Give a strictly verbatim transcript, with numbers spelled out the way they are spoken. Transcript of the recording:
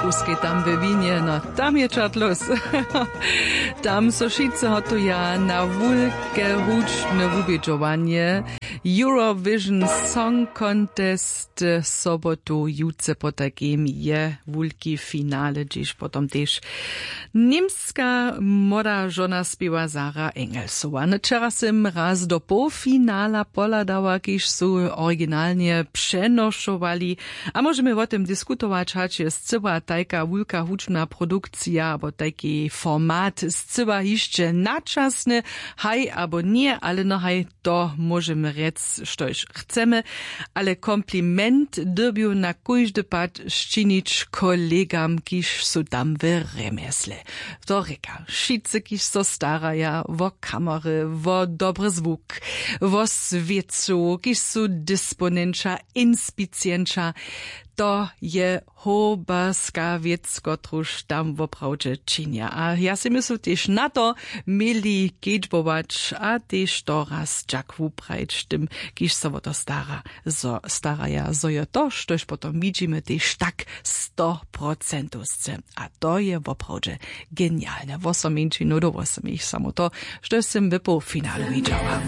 Kuskej tam we winje no, tam je čatlos. Tam so wšitcy hotuja na wulke hudźbne wubědźowanje, Eurovision Song Contest. Sobotu jutře potajkim je wulki finale, hdźež potom tež němska młoda žona spěwa Sara Engelsowa. Wčera sym raz do połfinala pohladała, kiž su originalnje přenošowali, a móžemy wo tym diskutować, hač je scyła tajka wulka hudźbna produkcija abo tajki format scyła hišće načasny? Haj abo ně, ale no haj, to móžemy rjec štož chcemy. Ale kompliment dyrbju na kóždy pad sčinić kolegam, kiž su tam w rjemjesle. To rěka wšitcy, kiž so staraja wo kamery, wo dobry zwuk, wo swěcu, kiž su disponenća, inspicienća. To je hoberska wěc, kotruž tam woprawdźe činja, a ja sej myslu tež na to, měli kedźbować a tež to raz dźak wuprajić tym, kiž so wo to stara zo staraja, zo jo to štož potom widźimy tež tak stoprocentowsce. A to je woprawdźe genialne. Wosom mjeńšinow do wosomich samo to, štož sym w połfinalu widźała.